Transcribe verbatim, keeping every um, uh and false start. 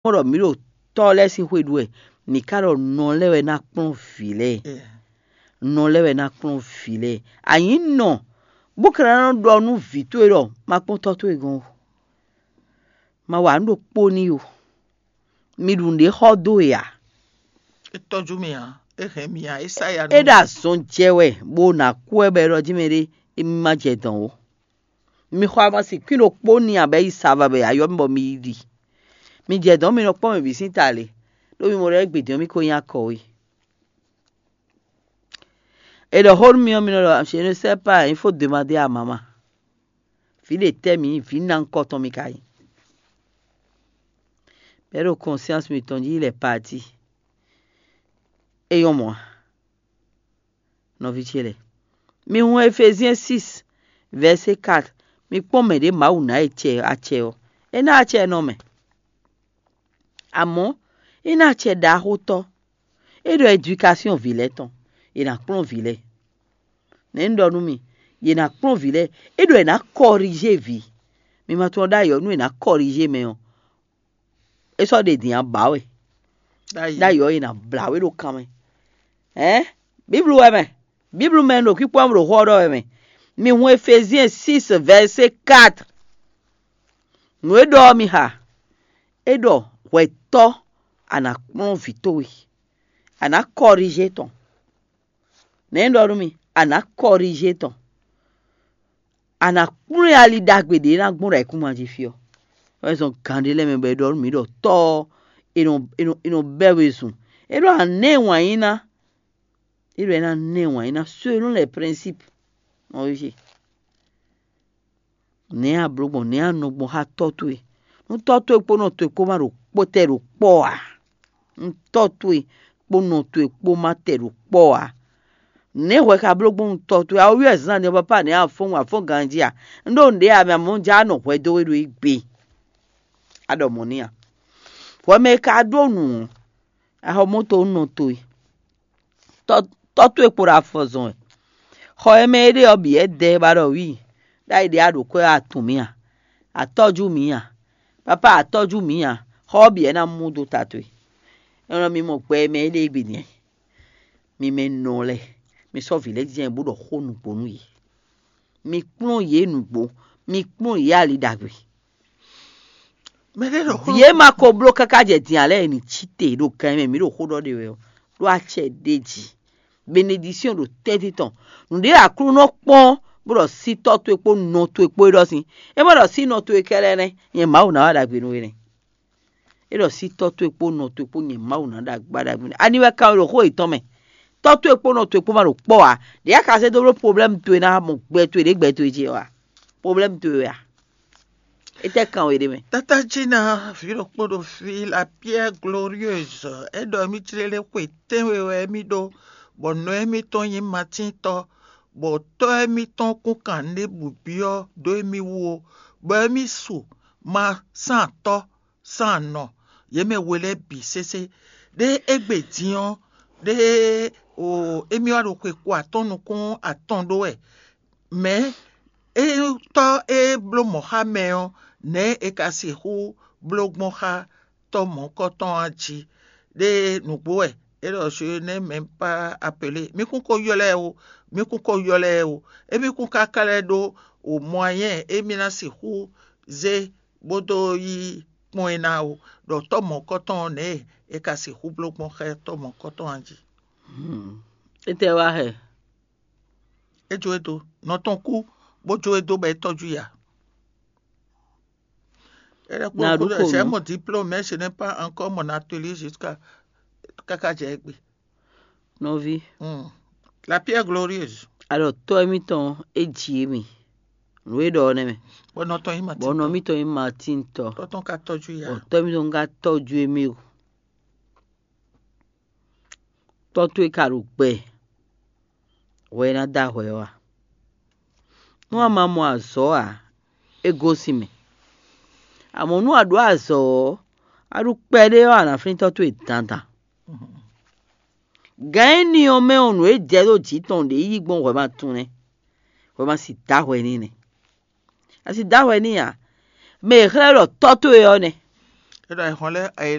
mɔ ɖɔ mǐ ɖo tɔ́ lɛ́ɛ sín xwé ɖu wɛ, mǐ ka ɖɔ nɔ lɛ́ɛ wɛ ná kplɔ́n vǐ lɛ́ɛ. Nɔ lɛ́ɛ wɛ ná kplɔ́n vǐ lɛ́ɛ. A nyǐ nɔ, bó ka ná nɔ ɖɔ nú vǐ towe ɖɔ ma kpɔ́n tɔ́ towe gɔ́n o. Ma wa nǔ ɖokpó n'i o. Mi ɖu nǔɖé xɔ dó e ǎ. É tɔ́jú mì ǎ, é hɛn mì ǎ, é sá ya nú É mì. Ɖo azɔn jɛ wɛ, bó ná kú wɛ bɔ é ɖɔ jí mɛ ɖé, émí ma jɛ dɔn ó. Mi xɔ amasin kwín ɖokpó n'i ǎ bɔ é yi sa va bɔ è yá ylɔ́ mì bɔ mi yi ɖi. Mi jɛ dɔn mi nɔ kpɔ́n mɛ bǐ sín ta le, ɖó mi mɔ ɖɔ égbé din ɔ́ mì ko nyí akɔ we. È ɖɔ xó nú mi ɔ́, mi nɔ ɖɔ je ne sais pas, il faut demander à maman. Vǐ ɖe tɛ́ mǐ nyí, vǐ ná ŋkɔ tɔn mi ka nyí. Bɛ̌ ɖo conscience mitɔn jí lɛ parti. É nyɔ́ mɔ̌ a? Nɔví ce lɛ́ɛ, mi hun Efezyɛn six vɛ̌sé quatre. Mi kpɔ́n mɛ ɖě Mawu ná acɛ ɔ́, é ná acɛ nɔ mɛ. Amɔ̌, é ná acɛ ɖaxótɔ́. É ɖɔ edwikasyon vǐ lɛ́ɛ tɔn, è nǎ kplɔ́n vǐ lɛ́ɛ. Nɛ̌ un ɖɔ nú mi? Yě ná kplɔ́n vǐ lɛ́ɛ. É ɖɔ è nǎ kɔrizé vǐ. Mi ma tunwun ɖ'ayǐ ɔ́, nú è nǎ kɔrizé mɛ ɔ́, é sɔ́ ɖe din ǎ, bǎ wɛ. Ɖ'ayǐ ɔ́, è nǎ blǎ we ɖo kan mɛ. Ɛ̌? Bíblu wɛ mɛ. Bíblu mɛ un ɖo kpíkpɔ́ ɖo xó ɔ́ ɖɔ wɛ mɛ. Mi hun Efezyɛn six vɛ̌sé quatre. Nǔ e ɖɔ ɔ́ mi xa. É ɖɔ hwɛtɔ́, a nǎ kplɔ́n vǐ towe, a nǎ kɔrizé tɔn. Nɛ̌ un ɖɔ nú mi? A nǎ kɔrizé tɔn. A nǎ kplɔ́n ali ɖagbe ɖě ná gbɔn ɖo ayǐkúngban jí fí ɔ́. Wɛ zɔn gǎn ɖé lɛ́ɛ mɛ bɔ è ɖɔ nú mǐ ɖɔ tɔ́ ɔ́, è nɔ è nɔ è nɔ bɛ́ we zun. É ɖɔ a nǎ ɛ wǎn yí ná. É ɖɔ é ná nɔ ɛ wǎn yí ná selon les principes. Nɔví ce, nɛ̌ a blǒ gbɔn, nɛ̌ a nɔ gbɔn xá tɔ́ towe? Nú tɔ́ towe kpó nɔ towe kpó ma ɖo kpó tɛ ɖo kpɔ́ ǎ. Nú tɔ́ towe kpó nɔ towe kpó ma tɛ ɖo kpɔ́ ǎ. Nɛ̌ hwɛ ka bló gbɔn nú tɔ́ towe? A wú wɛ zán ni ɔ́, papá nɛ̌ a fɔ́n a fɔ́n ganjí a? Un ɖó nǔɖé a mɛ amɔ̌ un já nɔ hwɛ dó we ɖo yi gbe. A ɖɔ mɔ̌ n'i a? Hwɛ mɛ e ka ɖó nǔ ɔ́, a xɔ mɔ̌ to nú nɔ towe. Tɔ́ towe kpo ɖo afɔ zɔn wɛ. Xɔ e mɛ é ɖe ɔ́ bǐ wɛ dɛ ba ɖɔ wǐ, ɖ'ayǐ ɖě a ɖǒ kwɛ́ a tunwun mǐ a? A tɔ́jú mǐ a? Papá a tɔ́jú mǐ a? Xɔ ɔ́ bǐ wɛ ná mú dó ta towe. Énɛ́ ɔ́, mi mɔ gbɛ e mɛ é ɖe é bǐ nɛ́. Mi mɛ nɔ lɛ́ɛ, mi sɔ́ vǐ lɛ́ɛ jɛ́n bó ɖɔ xó nǔgbó nú yě. Mi kplɔ́n yě nǔgbó, mi kplɔ́n yě ali ɖagbe. Mɛ ɖé ɖɔ xó Vǐ e ma ko bló káká jɛ din ǎ lɛ́ɛ ní cí te ɖo gan e mɛ mǐ ɖo xó ɖɔ ɖe wɛ ɔ́, ɖó acɛ ɖ'é jí. Benedisíɔn ɖo tɛ́ntin tɔn. Nǔɖé Aklúnɔ kpɔ́n bó ɖɔ sí tɔ́ towe kpó nɔ towe kpó é ɖɔ sín. É ma ɖɔ sí nɔ towe kɛ́ɖɛ́ nɛ́, nyɛ Mawu ná wa ɖagbe nú we nɛ́. É ɖɔ sí tɔ́ towe kpó nɔ towe kpó nyɛ Mawu ná ɖagba ɖagbe nú. Ani wɛ ka ɖo xó yětɔn mɛ? Tɔ́ towe kpó nɔ towe kpó ma ɖo kpɔ́ ǎ. Ɖě a ka zé dó bló problème towe ná mɔ gbɛ towe ɖě gbɛ towe jí ɔ́ a? Problème towe wɛ a? Étɛ́ kan we ɖé mɛ? Tata Jina, vǐ ɖokpó ɖo fí, la pierre glorieuse, é ɖɔ émí jlé lé xwe tɛ́nwe wɛ émí ɖó, bɔ nɔ émítɔn nyí matíntɔ́, bɔ tɔ́ émítɔn kún kan nǔɖé bǐ ɔ́ dó émí wú ó, bɔ émí su ma sán atɔ́ sán anɔ, yě mɛ we lɛ́ɛ bǐ sésé. Ɖé égbé din ɔ́, ɖé o émí wá ɖo xwe ko atɔ́ɔ́n nukún atɔn ɖó wɛ. Mɛ̌ é tɔ́ e bló mɔ̌ xá mɛ ɔ́, nɛ̌ è ka sixú bló gbɔn xá tɔ́ mɔ̌hunkɔtɔn ɔ́ jí? Ɖé nǔgbó wɛ é ɖɔ je n'ai même pas appelé. Mí kún ko ylɔ́ ɛ ó, mí kún ko ylɔ́ ɛ ó. Émí kún ka ka lɛ́ ɖó o moyen émí ná sixú zé bó dó yí kpɔ́n ɛ ná ó, ɖɔ tɔ́ mɔ̌hunkɔtɔn ɔ́ nɛ̌ è ka sixú bló gbɔn xá tɔ́ mɔ̌hunkɔtɔn ɔ́ jí. Étɛ́ wá hɛ? É jó e dó, nɔ tɔn kú, bó jó e dó bɔ é tɔ́jú i ǎ. É ɖɔ kpó Nǎ kú ɖó ɖɔ kó c'est nǔ. Mon diplôme, mais je n'ai pas encore mon atelier jusqu'à káká jɛ égbé. Nɔví, Hmm. La pierre glorieuse. Alɔ tɔ́ émítɔn é ji émí. Nǔ e ɖɔ ɔ́ nɛ́ mɛ. Bɔ nɔ tɔn yí Bɔ nɔ Matin. Mítɔn nyí Matin tɔ. Tɔ́ tɔn ka tɔ́jú i Bɔ ǎ. Tɔ́ émítɔn ka tɔ́jú émí o. Tɔ́ towe ka ɖo gbɛ, hwɛ e ná dó ahwɛ ɔ́ a? Nú a ma mɔ azɔ̌ ǎ, é gosín mɛ. Amɔ̌ nú a ɖǒ azɔ̌ ɔ́, a ɖu kpɛɖé ɔ́, a nǎ flín tɔ́ towe dandan. Gǎn énɛ́ ɔ́ mɛ ɔ́, nǔ e jɛ ɖó jǐ tɔn ɖě yí gbɔn hwɛ ma tunwun nɛ́, hwɛ ma si dó ahwɛ n'i nɛ́. A si dó ahwɛ n'i ǎ. Mɛ e xlɛ́ ɖɔ tɔ́ towe ɔ́ nɛ́. é ɖo ayǐhɔ́n lɛ́ɛ ayǐ